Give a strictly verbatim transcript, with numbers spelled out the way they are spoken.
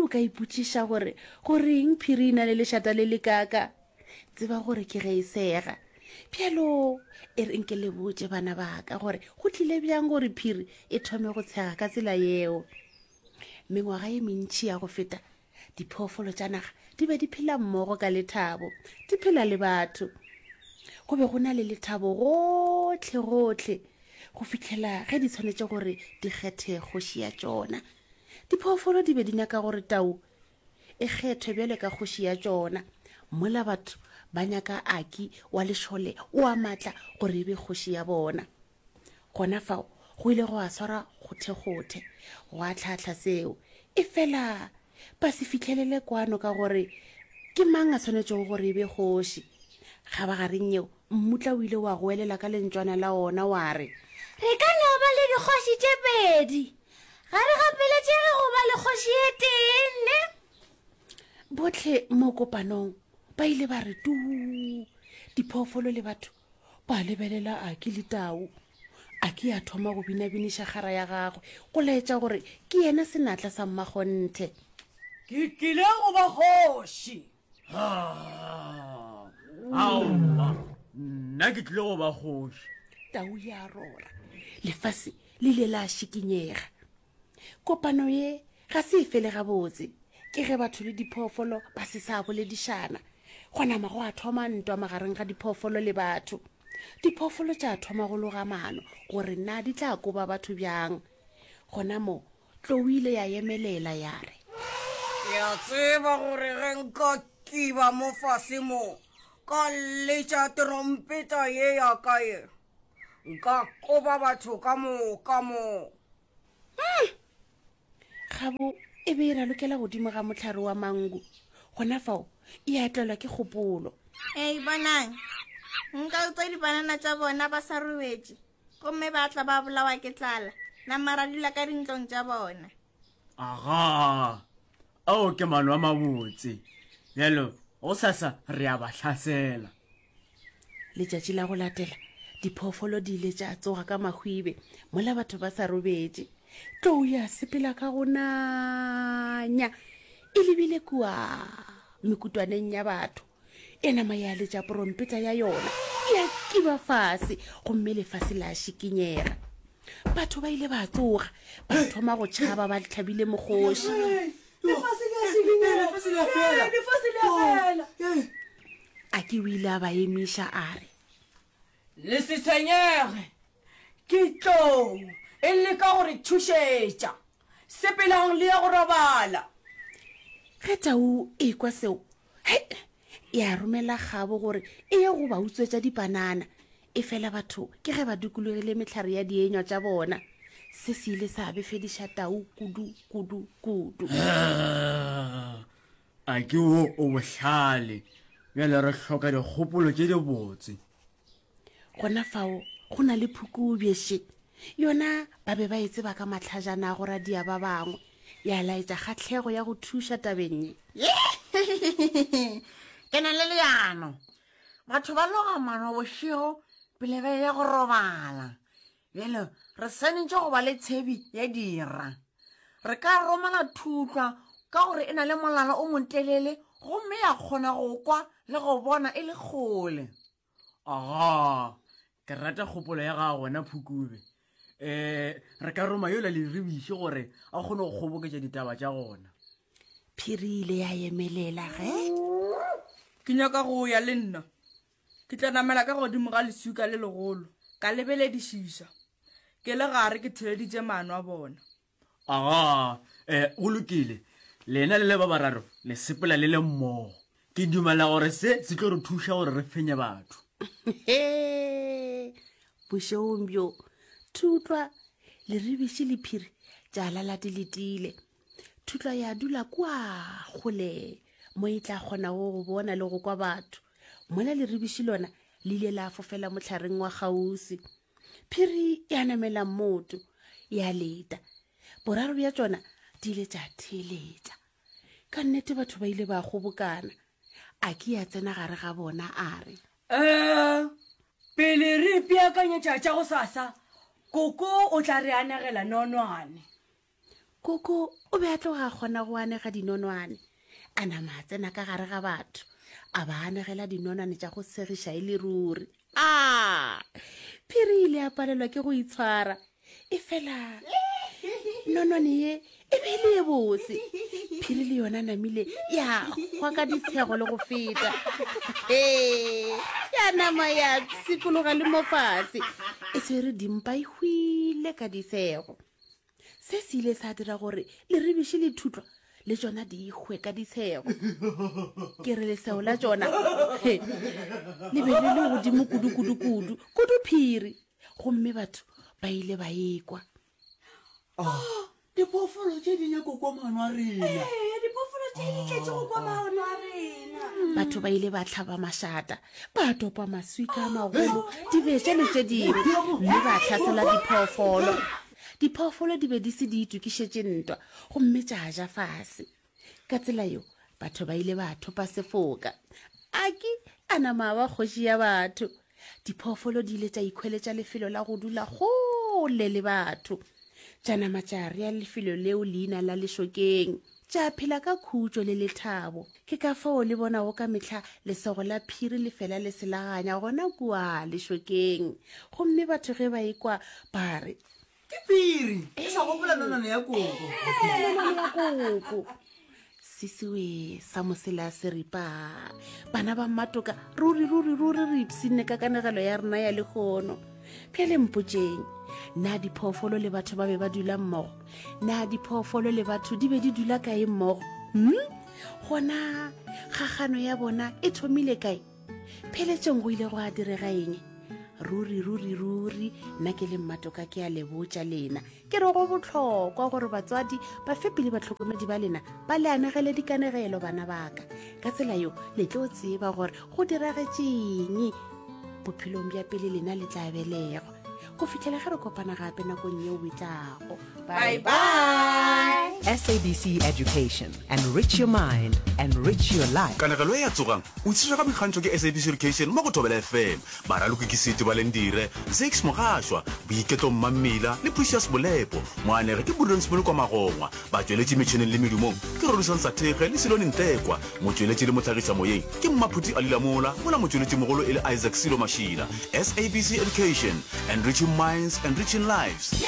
o ka ipotšiša gore goreng phiri e na le lešata le le kaaka, tseba gore ke ge e sega. Bjalo e re nke le botše bana ba ka gore go tlile bjang gore phiri e thome go tshega ka tsela yeo. Mengwaga ye mentši ya go feta, diphoofolo tša naga di be di phela mmogo ka lethabo, di phela le batho. Go be go na le lethabo gohle gohle go fihlela ge di tshwanetše gore di kgethe kgoši ya tšona. Diphoofolo di be di nyaka gore tau e kgethwe bjalo ka kgoši ya tšona, mola batho ba nyaka Aki wa lešole wa matla gore e be kgoši ya bona. Gona fao go ile gwa swara kgothekgothe gwa tlhahla seo, efela ba se fihlelele kwano ka gore ke mang a swanetšego gore e be kgoši. Kgabagareng yeo, mmutla o ile wa goelela ka lentšwana la ona wa re, Re ka no ba le dikgoši tše pedi. Ga re gapeletšege go ba le kgoši e tee, ne? Bohle mo kopanong ba ile ba re tuu. Diphoofolo le batho ba lebelela Aki le tau. Aki a thoma go binabiniša kgara ya gagwe go laetša gore ke yena senatla sa mmakgonthe. Ke tlile go ba kgoši. Aowa, nna ke tlile go ba kgoši. Tau ya rora. Lefase le ile la šikinyega. Kopano ye ga se e fele gabotse. Ke ge batho le diphoofolo ba se sa boledišana. Gwa nama gwa thoma ntwa magareng ga diphoofolo le batho. Diphoofolo tša thoma go loga maano gore na di tla koba batho bjang. Gona moo tlou ile ya emelela ya re, Ke a tseba gore ge nka kiba mo fase mo, ka letša terompeta ye ya ka ye, nka koba batho ka moka mo. Kgabo e be e ralokela godimo ga mohlare wa mango. Gona fao e a tlelwa ke kgopolo. Ei, bonang, nka utswa dibanana tša bona ba sa robetše, gomme ba tla ba bolawa ke tlala, nama ra dula ka dintlong tša bona. Aga, ao ke maano a mabotse. Bjalo, gosasa re a ba hlasela. Letšatši la go latela, diphoofolo di ile tša tsoga ka mahwibe mola batho ba sa robetše. Tlou ya sepela ka go nanya e lebile kua mekutwaneng ya batho. E nama ya letša porompeta ya yona ya kiba fase gomme lefase la šikinyega. Batho ba ile ba tsoga ba thoma go tšhaba ba hlabile mokgoši. Aki o ile a ba emiša a re, Le se tshwenyege, ke tlou e leka go re thušetša. Sepelang le ye go robala. Ge tau e ekwa seo, hei, ya romela kgabo gore e ye go ba utswetša dipanana. Efela batho ke ge ba dukulogile mehlare ya dienywa tša bona. Se se ile sa befediša tau kudu, kudu, kudu. A ke wo o bohlale. Bjale re hloka dikgopolo tše dibotse. Gona fao go na le phukubje še. Yona ba be ba e tseba ka mahlajana a go radia ba bangwe. Ya laetša kgahlego ya go thuša tabeng ye. Ke na le leano. Batho ba loga maano bošego pele ba eya go robala. Bjale re swanetše go ba le tshebi ya dira. Re ka romela thutlwa ka gore e na le molala o motelele gomme ya kgona go kwa le go bona e le kgole. Aga, ke rata kgopolo ya gago wena Phukube. Um re ka roma yola leribiši gore a kgone go kgoboketša ditaba tša gona. Phiri ile ya emelela ge. Ke nyaka go ya le nna. Ke tla namela ka godimo ga leswika le legolo, ka lebeledišiša. Ke le gare ke theleditše maano a bona. Aga, um go lokile. Lena le le ba bararo le sepela le le mmogo. Ke dumela gore se se tlo re thuša gore re fenye batho. He, bošegong bjo, Thutlwa, Leribiši le Phiri tša lala di letile. Thutlwa ya dula kua kgole mo e tla kgonago go bona le go kwa batho. Mola Leribiši lona le ile la fofela mohlareng wa kgauswi. Phiri ya namela mmoto ya leta. Boraro bja tšona di ile tša theeletša. Ka nnete batho ba ile ba kgobokana. Aki a tsena gare ga bona a re, Eh, pele re ipeakanyetša tša gosasa, koko o tla re anegela nonwane. Koko o be a tloga a kgona go anega dinonwane. A nama a tsena ka gare ga batho, a ba anegela dinonwane tša go segiša e le ruri. A Phiri ile a palelwa ke go itshwara. Efela nonwane ye e be e le ye bose. Phiri le yona namile ya hwa ka ditshego le go feta. Ee, ya nama ya pshikologa le mo fase e swere dimpa e hwile ka ditshego. Se se ile sa dira gore leribiši le thutlwa le tšona di hwe ka ditshego. Ke re leseo la tšona he, le be le le godimo kudu kudu kudu kudu phiri, gomme batho ba ile ba ekwa. Oh, diphoofolo tše di nyako kwa maano a rena. Ee, diphoofolo tše di tletše go kwa maano a rena. Batho ba ile ba hlaba mašata, ba topa maswika a magolo, dibetša le tše dingwe, mme ba hlasela diphoofolo. Diphoofolo di be di se di itokišetše ntwa gomme tša ja fase. Ka tsela yeo batho ba ile ba thopa sefoka. Aki a nama a ba kgoši ya batho. Diphoofolo di ile tša ikhweletša lefelo la go dula kgole le batho. Tša nama tša rea lefelo leo leina la Lešokeng. Tša phela ka khutšo le lethabo. Ke ka fao le bonago ka mehla lesego la phiri le fela le selaganya gona kua lešokeng. Gomme batho ge ba ekwa ba re, Ke phiri, e sa gopola nonwane ya koko. Nonwane ya koko. Sisiwe sa mosela seripa. Bana ba mmatoka, ruri ruri ruri re ipshinne ka kanegelo ya rena ya lehono. Bjale mpotšeng, na diphoofolo le batho ba be ba dula mmogo? Na diphoofolo le batho di be di dula kae mmogo? Hmm? Gona kgagano ya bona e thomile kae? Pheletšong go ile gwa direga eng? Ruri ruri ruri nna ke le mmatoka ke a le botša lena, ke re go bohlokwa gore batswadi, bafepi le bahlokomedi ba lena ba le anegele dikanegelo bana baka. Ka tsela yeo le tlo tseba gore go diragetšeng bophelong bja pele lena le tla belegwa. Go fihlela ge re kopana gape nakong yeo e tlago. Bye bye. S A B C Education. Enrich your mind, enrich your life. Kanegelo ye ya Tsogang o tlišetšwa ka boikgantšho ke S A B C Education mo go Thobela F M. Baraloki ke Seti Balendire, Zakes Mogašwa, Boiketlo Mmammila le Precious Bolepo. Moanegi ke Prudence Molokwa Magongwa. Batšweletši metšhineng le medumong ke Rorisang Sathekge le Silone Ntlekwa. Motšweletši le mohlagiša moyeng ke Mmaphuti Ali Lamola, mola motšweletšimogolo e le Isaac Silo Mašila. S A B C Education, enriching minds, enriching lives.